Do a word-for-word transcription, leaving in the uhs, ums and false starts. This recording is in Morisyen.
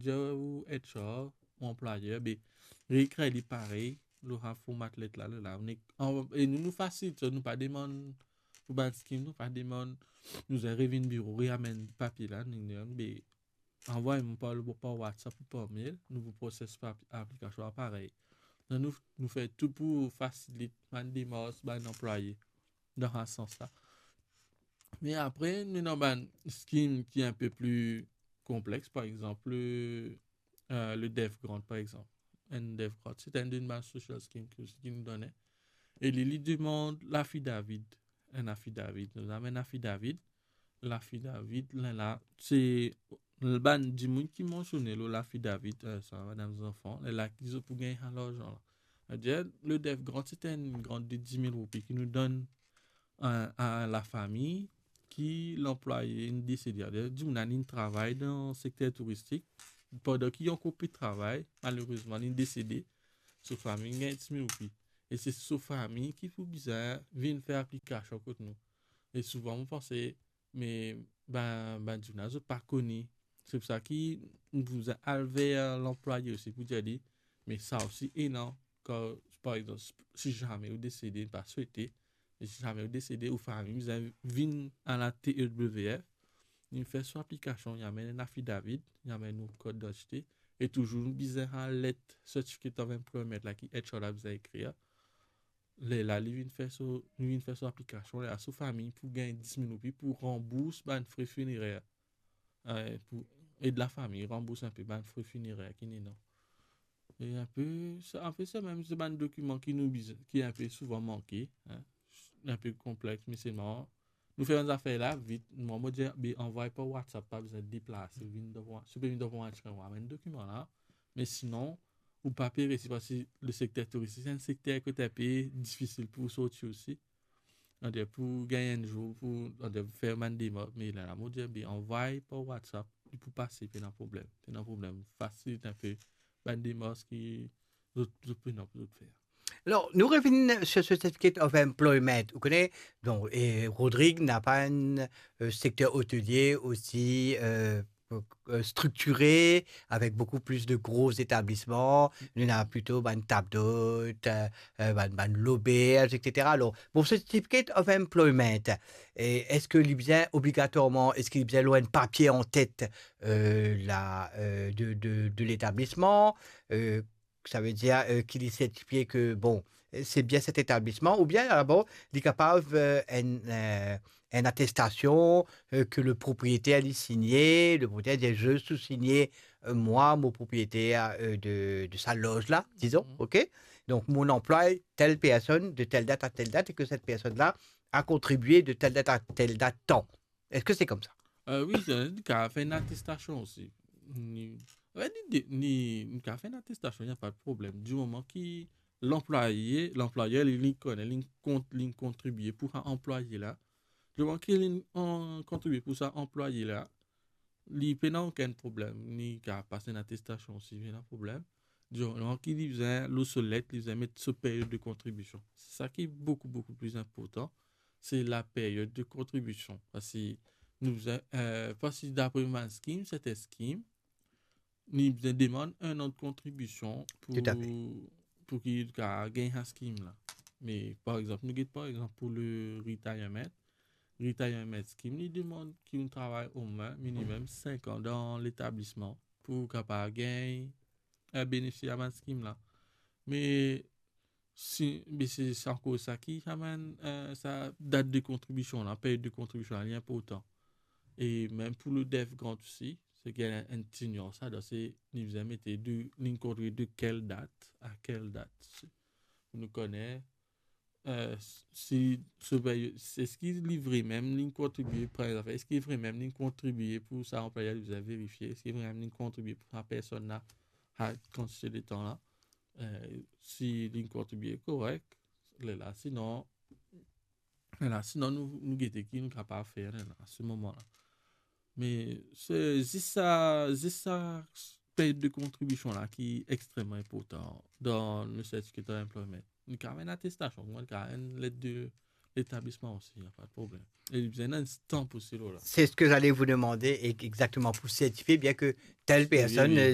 Manager ou H R, ou anplwayer, be, reekrir li parey, lor sa format let la, la, la. Nou, e nou, nou fasil, so, nou pa demann pou bann scheme, nou pa demann, nou bizin revinn biro, reamenn papie la, nou, nou, be, anvway mwa par, par WhatsApp ou par mail, nou pou proses pa-, aplikasion la parey. Nou, nou, nou fer tou pou fasilit bann demars bann anplwaye dan sa sans la. Me apre, nou ena bann scheme ki inpe pli konplex, par exanp, le, euh, le Deaf Grant, par exanp. Enn Deaf Grant, se enn bann social scheme ki, ki nou done. E li, li demann lafidavid, enn afidavid. Nou amenn afidavid, lafidavid, la, la, se bann dimoun ki mansione lor lafidavid, euh, sa, madam zanfan, la, la ki zot pou gagn sa larzan la. Savedir, le Deaf Grant, se enn grant de dis mil roupi ki nou donn a, a lafami ki lanplwaye inn desede. Savedir, dimoun la inn travay dan sekter touristik, pandan ki li ankor pe travay, malerezman, li desede, so fami gagn dis mil roupi. E se so fami ki pou bizin vinn fer aplikasion kot nou. E souvan, mo panse, me bann, bann dimoun la, zot pa kone. Se pou sa ki nou bizin al ver lanplwaye osi pou dir li, me sa osi ena, kan, par exanp, si zame ou desede, pa swete, me si zame ou desede, ou fami bizin vinn a la T E W F, li fer so aplikasion, li amenn enn afidavid, li amenn ou kart didantite, e touzour nou bizin sa let Certificate of Employment la ki H R la bizin ekrir. Lerla li vinn fer so, li vinn fer so aplikasion, lerla so fami pou gagn dis mil roupi pou ranbours bann fre finerer. Eh, pou ed lafami ranbours inpe bann fre finerer ki ena. E inpe, se, inpe sa mem, se bann dokiman ki nou bizin, ki inpe souvan manke, hein. Inpe konplex, me selman, nou fer bann zafer la vit. Mwa, mo dir, be, anvway par WhatsApp, pa bizin deplase, vinn dan, si ou pe vinn dan mwa, amenn dokiman la. Me sinon, ou pa pe resi, parski le sekter touristik, se enn sekter kot inpe difisil pou sorti osi. Savedir pou gagn enn zour, pou, savedir fer bann demars, me la, la, mo dir, be, anvway par WhatsApp, li pou pase, pena problem. Pena problem. Fasilit inpe bann demars ki zot, zot pena pou zot fer. Alors, nous revenons sur ce certificate of employment. Vous connaissez, donc, et Rodrigue n'a pas un euh, secteur hôtelier aussi euh, euh, structuré, avec beaucoup plus de gros établissements. Nous avons plutôt une table d'hôte, euh, euh, une, une l'auberge, et cetera. Alors, pour ce certificate of employment, et est-ce que li bizin obligatoirement, est-ce que li bizin avoir un papier en tête euh, la, euh, de, de, de l'établissement euh, Savedir euh, ki li sertifie ke, bon, se bien set etablisman, oubien, ah bon, li kapav euh, enn euh, enn atestasion euh, ke le propriétaire li signe, le propriétaire dit, je sous-signe euh, moi, mon propriétaire euh, de, de sa loge là, disons, Mhm. OK? Donc, mon emploi, telle personne, de telle date à telle date, et que cette personne-là a contribué de telle date à telle date tant. Est-ce que c'est comme ça? Euh, wi, sa, li kapav fer enn atestasion osi. Ni, anfet, ni, ni, li kapav fer enn atestasion, napa de problem. Di moman ki lanplwaye, lanplwayer, li, li kone, li kont-, li kontribie pou sa anplwaye la. Di moman ki li an-, kontribie pou sa anplwaye la, li pena okenn problem. Li kapav pas enn atestasion osi, pena problem. Di moman ki li bizin, lor so let, li bizin met so period de kontribision. Se sa ki boukou, boukou pli inportan. Se la period de kontribision. Parski nou bizin, euh, parski dapre bann scheme, sertin scheme, nou bizin demann enn an de kontribision pou, Tout à fait. Pou ki li kapav gagn sa scheme la. Me, par exanp, nou get, par exanp, pou le retirement, retirement scheme, li demann ki ou travay omwin minimem sink an dan letablisman pou ou kapav gagn, euh, benefisye a bann scheme la. Me si, me se, se ankor sa ki amenn, euh, sa dat de kontribision la, period de kontribision la, li inportan. E mem pou le Deaf Grant osi, se ki enn, enn ti nians ladan, se li bizin mete de, li kontribie de kel dat a kel dat. Se, pou nou kone, euh, si, si, eski li vremem li kontribie, premie zafer, eski vremem li kontribie pou sa anplwayer, li bizin verifie, eski vremem li kontribie pou sa personn la, sa kantite letan la, euh, si li kontribie korek, lerla, sinon, lerla, sinon nou, nou gete ki nou kapav fer, lerla, a se moman la. Me se zis sa, zis sa period de kontribision la ki extreman inportan dan le certificate of employment. Li kapav enn atestasion, li kapav enn let de letablisman osi, napa de problem. E li bizin enn stamp osi lor la. C'est ce que j'allais vous demander, e-, exactement, pour certifier bien que telle personne, Wi, wi.